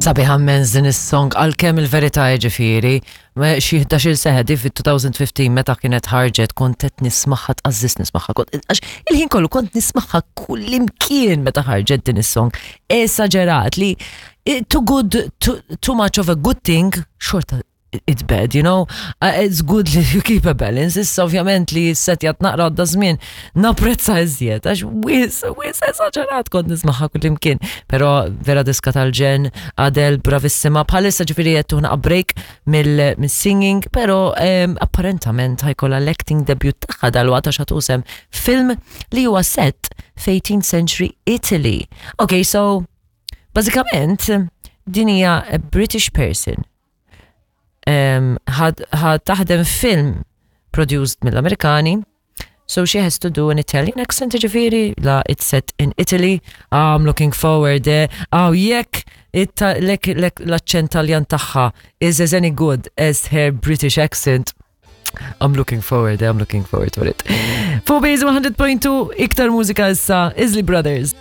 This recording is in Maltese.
Sabiħa immens din is-song għalkemm il-verità jiġifieri xi 11-il sena di fit-2015 meta kienet ħarġet kont qed nismagħha tqażżis nismagħha kont għax il-ħin kollu kont nismagħha kullimkien meta ħarġet din is-song. Esaġerat li eh, too good too, too much of a good thing xorta it's bad, you know? Uh, it's good li you keep a balance. Issa ovvjament li s-setjat naqra għadda żmien napprezza iżjed, għax wis, wis esaġerat kont nismaħħa kullimkien. Però vera diska tal-ġen, Adele bravissima, bħalissa ġifieri qed tuħna break mill-singing, però um, apparentament ħajkollha l-acting debut tagħha dalwaqt għax ħatusem film li huwa set f'18th century Italy. Okay, so bażikament din hija a British person ħa taħdem film produced mill-Amerikani, so she has to do an Italian accent ġifiri, la it's set in Italy, I'm looking forward, eh? Oh, jekk l-accent Taljan tagħha is as any good as her British accent, I'm looking forward, eh? I'm looking forward to it. Fuq Base 100.2, iktar mużika issa, Isley Brothers.